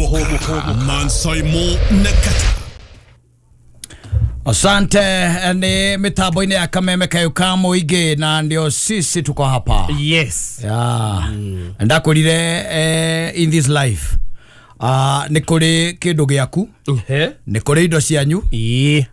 Hũmũka Mansaimo na Kata. Asante, ni mitambo-inĩ ya Kameme kayo ka mũingĩ na ndio sisi tuko hapa. Yes. Yeah. Ndakwĩrire in this life nĩ kũrĩ kĩndũ gĩaku, nĩ kũrĩ indo cianyu,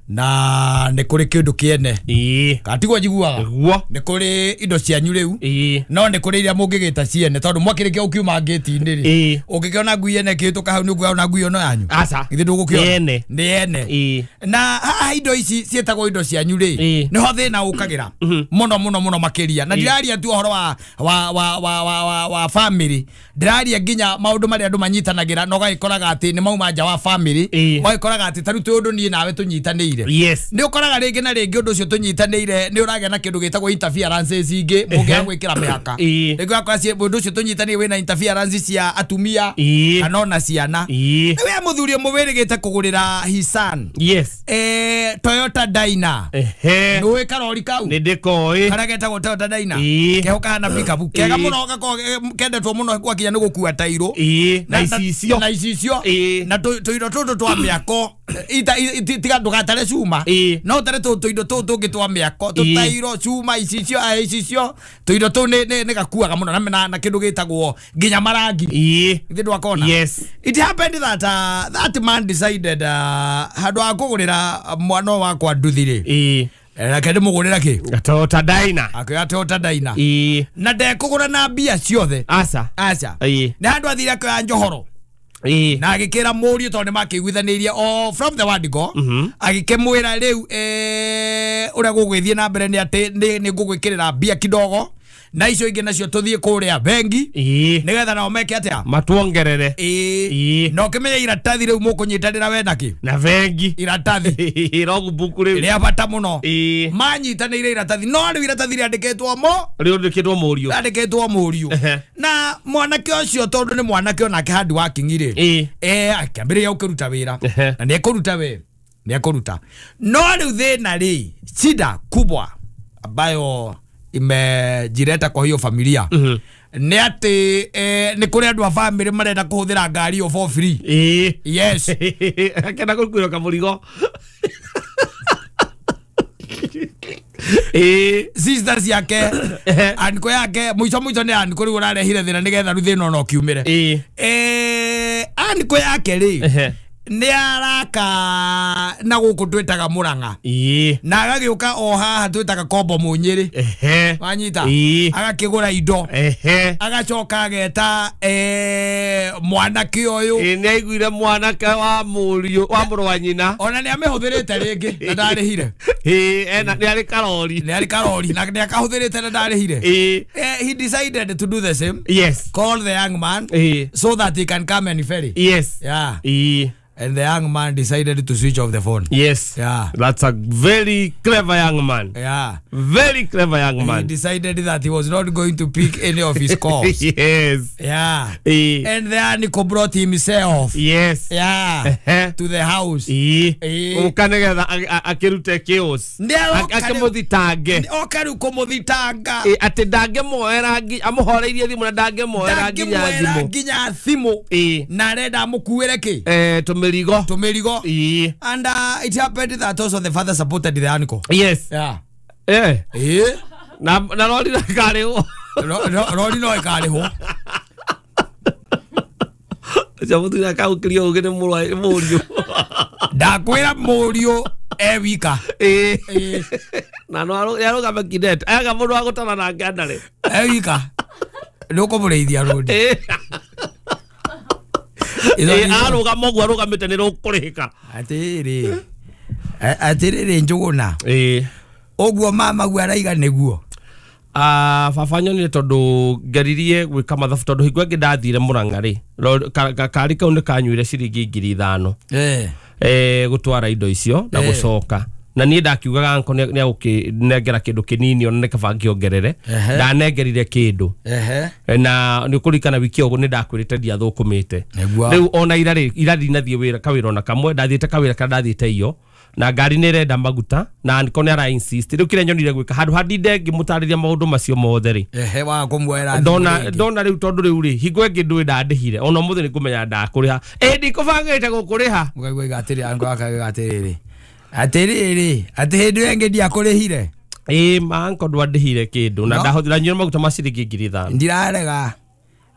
na nĩ kũrĩ kĩndũ kĩene. Katiguo njiguaga? Nĩguo. Nĩ kũrĩ indo cianyu rĩu, no nĩ kũrĩ iria mũngĩgĩta ciene tondũ mwakĩrĩkia gũkiuma ngĩti-inĩ rĩ, ũngĩkĩona ngui ene ĩkĩhĩtũka hau nĩ ũkuona ngui ĩno yanyu. Aca. Githĩ ndũgũkĩona? Nĩ ene. Nĩ ene. Na haha indo ici ciĩtagwo indo cianyu rĩ, nĩho thĩna ũkagĩra mũno mũno mũno makĩria. Na ndiraria tu ũhoro wa family, ndiraria nginya maũndũ marĩa andũ manyitanagĩra na ũgagĩkoraga atĩ nĩ mauma nja wa family, ũgagĩkoraga atĩ ta rĩu twĩ ũndũ niĩ nawe tũnyitanĩire. Yes. Nĩ ũkoraga rĩngĩ na rĩngĩ ũndũ ũcio tũnyitanĩire nĩ ũragĩa na kĩndũ gĩtagwo interferences ingĩ mũngĩaga gwĩkĩra mĩhaka. Rĩngĩ ũgakora ũndũ ũcio tũnyitanĩire wĩna interferences cia atumia kana ona ciana. We mũthuri ũmwe wĩrĩgĩte kũgũrĩra his son. Yes. Toyota Dyna. Nĩũĩ karori kau? Nĩ ndĩkoĩ. Karĩa getagwo Toyota Dyna. Keho kahana pickup. Kega mũno gakoragwo kendetwo mũno gwakinya nĩ gũkua tairũ. Na icicio. Na icicio. Na tũindo tũtũ twa mĩako tiga ndũgatare cuma, no ũtare tũindo tũtũ tũngĩ twa mĩako, tũtairũ, cuma, icicio, icicio, tũindo tũu nĩ gakuaga mũno na kĩndũ gĩtagwo nginya marangi. Githĩ ndwakona? Yes. It happened that that man decided handũ ha kũgũrĩra mwana wakwa nduthi rĩ, reke ndĩmũgũrĩra kĩ? Toyota Dyna. Akĩoya Toyota Dyna. Na ndekũgũra na mbia ciothe. Aca. Aca. Nĩ handũ athire akĩoya njohoro. Na agĩkĩra mũriũ tondũ nĩmakĩiguithanĩirie o from the word go, agĩkĩmwĩra rĩu ũrĩa gũgũgĩthiĩ na mbere nĩ atĩ nĩ ngũgwĩkĩrĩra mbia kidogo na icio ingĩ nacio tũthiĩ kũrĩa bengi nĩgetha nao meke atĩa? Matuongerere. Na ũkĩmenye iratathi rĩu mũkũnyitanĩra we nakĩ? Na bengi. Iratathi. Logbook rĩu. Rĩa bata mũno. Manyitanĩire iratathi, no rĩu iratathi rĩandĩkĩtwo mo? Rĩandĩkĩtwo mũriũ. Rĩandĩkĩtwo mũriũ. Na mwanake ũcio tondũ nĩ mwanake onake hard working rĩ, akĩambĩrĩria gũkĩruta wĩra. Na nĩekũruta we. Nĩekũruta. No rĩu thĩna rĩ, shida kubwa ambayo imejireta kwa hiyo familia nĩ atĩ nĩ kũrĩ andũ a family marenda kũhũthĩra ngari ĩyo for free. Yes. Akĩenda gũkuĩrwo kamũrigo. Sister ciake, anko yake, mũico mũico nĩ anko rĩu ũrarehire thĩna nĩgetha rĩu thĩna ona ũkiumĩre. Anko yake rĩ, nĩ araka na gũkũ twĩtaga Mũrang'a. Na agagĩũka o haha twĩtaga Kombo Mũnyĩrĩ. Wanyita? Agakĩgũra indo. Agacoka ageta mwanake ũyũ. Nĩ aiguire mwanake wa mũriũ wa mũrũ wa nyina. Ona nĩ amĩhũthĩrĩte rĩngĩ na ndarĩhire. Ena nĩ arĩ karori. Nĩ arĩ karori na nĩ akahũthĩrĩte na ndarĩhire. He decided to do the same. Yes. Call the young man so that he can come and ferry. Yes. Yeah. And the young man decided to switch off the phone. Yes. Yeah. That's a very clever young man. Yeah. Very clever young man. He decided that he was not going to pick any of his calls. Yes. Yeah. And the uncle brought himself. Yes. Yeah. To the house. Ũkanĩgetha akĩrute chaos. Akĩmũthitange. Oka rĩu kũmũthitanga. Atĩ ndangĩmuoera amũhoreirie thimũ na ndangĩmuoera nginya thimũ. Nginya thimũ. Na arenda amũkuĩre kĩ? Tũmĩrigo. Tũmĩrigo. And it happened that also the father supported the uncle. Yes. Yeah. Na rori no ĩkarĩhwo. Rori no ĩkarĩhwo. Ũcio mũthuri akagũkĩria ũgĩ nĩ mũriũ. Ndakwĩra mũriũ e wika. Na no arũgame kidete. Aga mũndũ wa gũtara nake ndarĩ. E wika. Nĩ ũkũmũrĩithia rũni. Arũgama ũguo arũgamĩte nĩ rũkũrĩhĩka. Atĩrĩrĩ. Atĩrĩrĩ Njũgũna. Ũguo mama guo araiga nĩguo. Baba nyonire tondũ ngeririe gwĩka mathabu tondũ hingo ĩngĩ ndathire Mũrang'a rĩ, kari kau nĩ kanyuire ciringi 5,000. Gũtwara indo icio na gũcoka. Na niĩ ndakiugaga anko nĩ agũkĩnengera kĩndũ kĩnini ona nĩ kaba ngĩongerere. Ndanengerire kĩndũ. Na nĩ ũkũririkana wiki ĩyo nĩ ndakwĩrĩte ndiathũkũmĩte. Rĩu ona ira rĩ, ira ndinathiĩ wĩra kawĩra ona kamwe, ndathiĩte kawĩra karĩa ndathiĩte iyo. Na ngari nĩ ĩrenda maguta na anko nĩ ara insist rĩu kĩrĩa nyonire gwĩka handũ handinde ngĩmũtarĩria maũndũ macio mothe rĩ ehe wa kũmuoera ndona rĩu tondũ rĩu rĩ hingo ĩngĩ ndũĩ ndandĩhire ona ũmũthĩ nĩ ngũmenya ndakũrĩha ĩ ndikũbangĩte gũkũrĩha ũkaigua atĩrĩ anko akauga atĩrĩrĩ atĩrĩrĩ atĩ hĩndĩ ĩyo ĩngĩ ndiakũrĩhire ĩ ma anko ndwandĩhire kĩndũ na ndahũthĩra nyuire maguta ma ciringi 5,000 ndirarega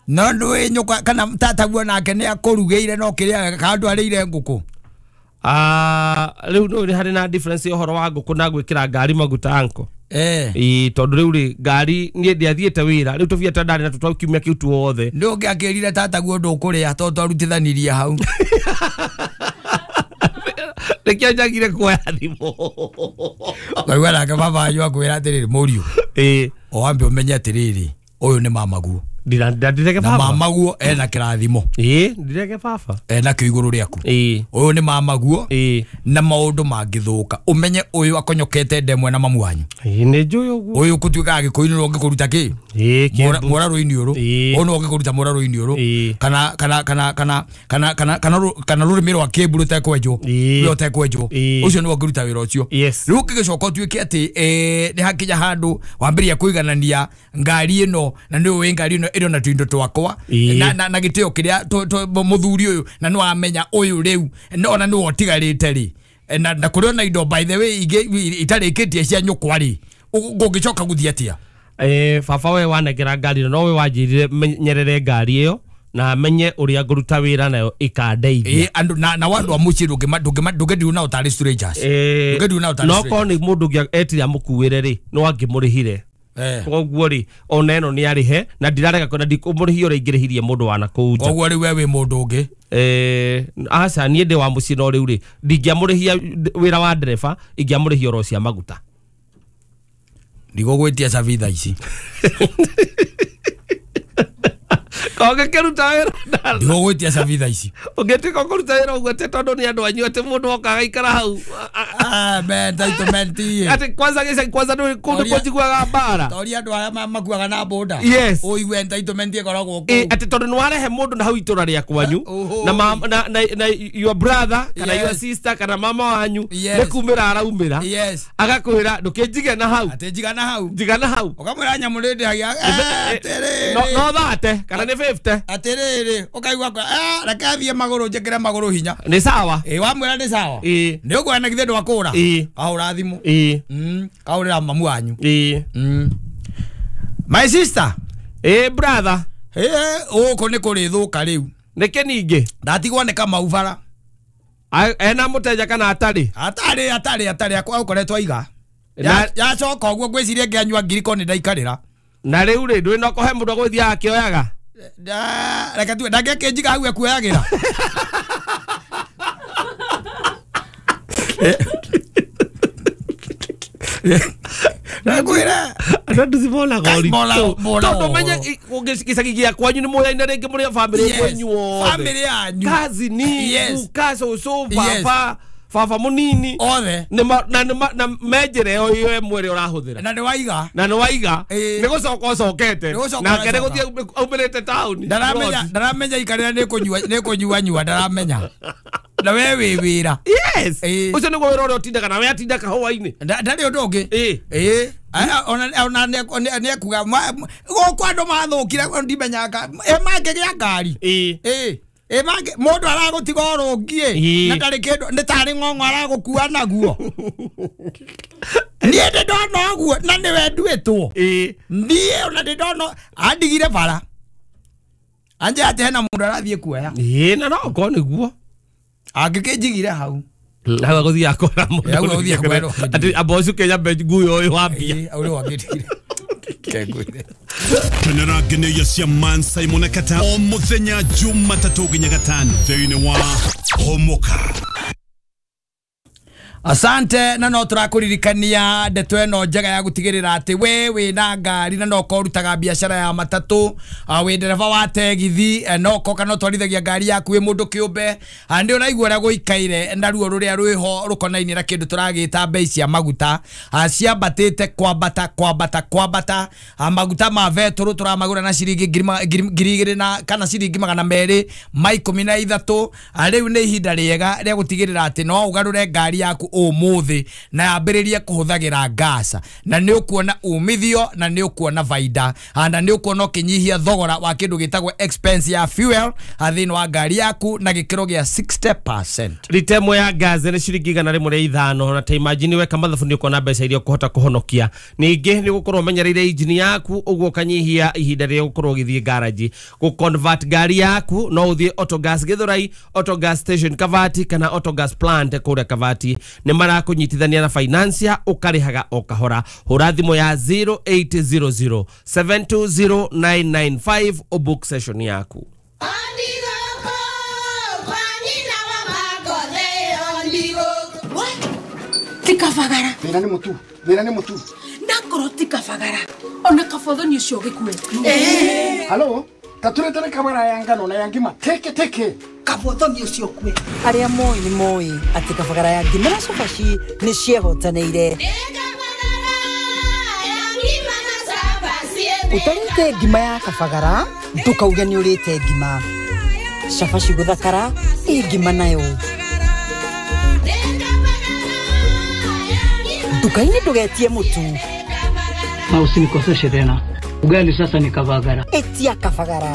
no ndũĩ nyũkwa kana tataguo nake nĩ akũrugĩire no kĩrĩa kana ndwarĩire ngũkũ. Rĩu nĩ harĩ na difference ũhoro wa ngũkũ na gwĩkĩra ngari maguta anko. Ĩ tondũ rĩu rĩ ngari niĩ ndiathiĩte wĩra rĩu tũbia ta ndarĩ na tũtwa kiumia kĩu tuothe ndũngĩakĩrire tataguo ndũkũrĩa tondũ twarutithanirie hau. Nĩkĩo njagire kuoya thimũ. Ũkaigua nake baba wanyu akwĩra atĩrĩrĩ mũriũ ĩ o wambe ũmenye atĩrĩrĩ ũyũ nĩ mamaguo ndirege na baba mamaguo ena kĩrathimo ĩ ndirege baba ena kĩo igũrũ rĩaku ĩ ũyũ nĩ mamaguo ĩ na maũndũ mangĩthũka ũmenye ũyũ akonyokete ndemwe na mamu wanyu ĩ nĩ njũĩ ũguo ũyũ kũtuĩka agĩkũyũ nĩwe ũngĩkũruta kĩ ĩ kĩmbu mũrarũ-inĩ ũrũ ũyũ nĩwe ũngĩkũruta mũrarũ-inĩ ũrũ kana kana kana kana kana kana kana kana rũrĩmĩ rwa kĩmbu rũtekwenjwo rũrĩa ũtekwenjwo ũcio nĩwe ũngĩruta wĩra ũcio. Rĩu ũngĩgĩcoka ũtuĩke atĩ nĩ hakinya handũ wambĩrĩria kũiganania ngari ĩno na nĩ ũĩ ngari ĩno ĩrĩ na tuindo twakwa na na gĩtĩo kĩrĩa mũthuri ũyũ na nĩ wamenya ũyũ rĩu ona nĩwe ũtigarĩte rĩ na kũrĩ ona indo by the way ingĩ itarĩkĩtie cia nyũkwa rĩ ũngĩcoka gũthiĩ atĩa? Baba we wanengera ngari ĩno no we wanjĩrire menyerere ngari ĩyo na menye ũrĩa ngũruta wĩra nayo ĩkandeithia. Andũ na andũ a mũciĩ ndũngĩndiu nao tarĩ strangers. Ndũngĩndiu nao tarĩ no korwo nĩ mũndũ ũngĩ etire amũkuĩre rĩ no angĩmũrĩhire koguo rĩ ona ĩno nĩ arĩhe na ndirarega na ndikũmũrĩhia ũrĩa ingĩrĩhirie mũndũ wa nakũu nja. Koguo rĩu we wĩ mũndũ ũngĩ aca niĩ ndĩ wa mũciĩ no rĩu rĩ ndingĩamũrĩhia wĩra wa ndereba ingĩamũrĩhia oro cia maguta. Ndigũgwĩtia cabi thaa ici. Kongĩkĩruta wĩra ndigũgwĩtia cabi thaa ici ũngĩtuĩka ũkũruta wĩra ũguo atĩ tondũ nĩ andũ anyu atĩ mũndũ oka agaikara hau entitlement atĩ kwanza gĩcagi kwanza nĩ kũndũ kũnjiguaga mbara toria andũ arĩa makuaga na boda yes ũigue entitlement ĩkoragwo kũu atĩ tondũ nĩ warehe mũndũ na hau itũra rĩa kwanyu na your brother kana your sister kana mama wanyu nĩ kumĩra araumĩra agakwĩra ndũkĩnjige na hau atĩ njiga na hau njiga na hau ũkamwĩra nyamũ nĩ ndĩhagia no thate kana nĩ 50 atĩrĩrĩ ũkaigua reke athiĩ magũrũ njĩkĩre magũrũ hinya nĩ sawa ĩ wamwĩra nĩ sawa nĩ ũkuona githĩ ndwakũra kahũra thimũ kahũrĩra mamu wanyu my sister ĩ brother gũkũ nĩ kũrĩthũka rĩu nĩkĩ ningĩ ndatigwo nĩ Kamau bara ena mũteja kana atarĩ atarĩ atarĩ atarĩ akoretwo aiga yacoka ũguo ngwĩciria ngĩanyua ngiriko nĩ ndaikarĩra na rĩu rĩ ndũĩ no kũhe mũndũ agũthiaga akĩoyaga reke tuwe ndangĩakĩnjiga hau ekuoyagĩra Nakwĩra andũ nduthi monaga ũritũ tondũ menye gĩcagi gĩa kwanyu nĩ mũyaine rĩngĩ mũrĩ a bamĩrĩ kwenyu othe bamĩrĩ yanyu kazini guka cũcũ baba baba mũnini othe na menjĩra ĩyo ĩyo ĩmwe ĩrĩa ũrahũthĩra na nĩ waiga na nĩ waiga nĩ gũcoka ũcokete nake nĩ gũthiĩ aumĩrĩte taũni ndaramenya ikarĩra nĩ kũnyua nyua ndaramenya na we wĩ wĩra yes ũcio nĩguo wĩra ũrĩa ũtindaga na we atinda kahũa-inĩ ndarĩ ũndũ ũngĩ ona nĩ ekuga gũkũ andũ mathũkire ndimenyaga mangĩgĩa ngari mũndũ aragũtiga ũrũngiĩ na ndarĩ kĩndũ nĩ tarĩ ng'ong'o aragũkua naguo niĩ ndĩ ndona ũguo na nĩwe nduĩtwo niĩ ona ndĩ ndona andigire bara anje atĩ hena mũndũ arathiĩ kuoya na no okorwo nĩguo angĩkĩnjigire hau hau agũthiĩ akora mũndũ atĩ amba ũcuke nyambe nguo ũyũ wambia ũrĩa wangĩtigire kengwĩre kenera ngeneia cia Man Simon Kata o muthenya Jumatatũ nginya Gatano thĩinĩ wa Homoka. Asante na no tũrakũririkania ndeto ĩno njega ya gũtigĩrĩra atĩ we wĩna ngari na no ũkorwo ũrutaga biacara ya matatũ wĩ ndereba wa tegithi no ũkorwo kana ũtwarithagia ngari yaku wĩ mũndũ kĩũmbe nĩ ũraigua ũrĩa gũikaire na ruo rũrĩa rwĩho rũkonainie na kĩndũ tũragĩta bei cia maguta ciambatĩte kwambata kwambata kwambata maguta ma betũrũ tũramagũra na ciringi 2,000 na kana ciringi 213 rĩu nĩ ihinda rĩega rĩa gũtigĩrĩra atĩ no ũgarũre ngari yaku ũmũthĩ na yambĩrĩrie kũhũthagĩra gas, na nĩ ũkuona umithio na nĩ ũkuona baida, na nĩ ũkuona ũkĩnyihia thogora wa kĩndũ gĩtagwo expense ya fuel thĩinĩ wa ngari yaku na gĩkĩro gĩa 60%. Rita ĩmwe ya gas nĩ ciringi 105, na ta imagine weka mathabu nĩ ũkuona mbeca iria ũkũhota kũhonokia. Ningĩ nĩ ũgũkorwo ũmenyereire injini yaku ũguo ũkanyihia ihinda rĩrĩa ũgũkorwo ũgĩthiĩ garage gũ convert ngari yaku. No ũthiĩ Autogas Githurai, Autogas Station Kavati, kana Autogas Plant kũrĩa Kavati. Nĩ marakũnyitithania na financier, ũkarĩhaga o kahora. Hũra thimũ ya 0800 720 995 ũbook session yaku. Tikabagara. Thĩna nĩ mũtu, thĩna nĩ mũtu. Nakorwo tikabagara. Ona kabothoni ũcio ũgĩkue. Halo, taturetere kabara ya ngano na ya ngima teke teke. Kabothoni ũcio ũkue. Arĩa moĩ nĩ moĩ atĩ kabagara ya ngima na cabaci nĩ ciehotanĩire. Ũtarĩte ngima ya kabagara ndũkauge nĩ ũrĩte ngima. Cabaci gũthakara ĩ ngima nayo. Nduka-inĩ ndũgetie mũtu. Na usinikoseshe tena. Ugali sasa ni kabagara. Etia kabagara.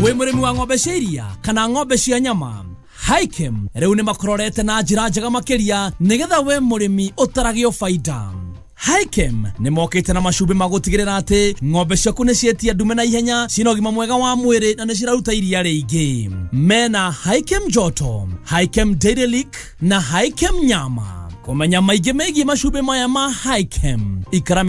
Wĩ mũrĩmi wa ng'ombe cia iria kana ng'ombe cia nyama, Hikem rĩu nĩ makororete na njĩra njega makĩria nĩgetha we mũrĩmi ũtaragio baida. Hikem nĩ mokĩte na macumbĩ ma gũtigĩrĩra atĩ ng'ombe ciaku nĩ cietia ndume na ihenya, cina ũgima mwega wa mwĩrĩ na nĩ ciraruta iria rĩingĩ. Mena Hikem Joto, Hikem Dairy Lick na Hikem Nyama. Kũmenya maingĩ megiĩ macumbĩ maya ma Hikem, ikara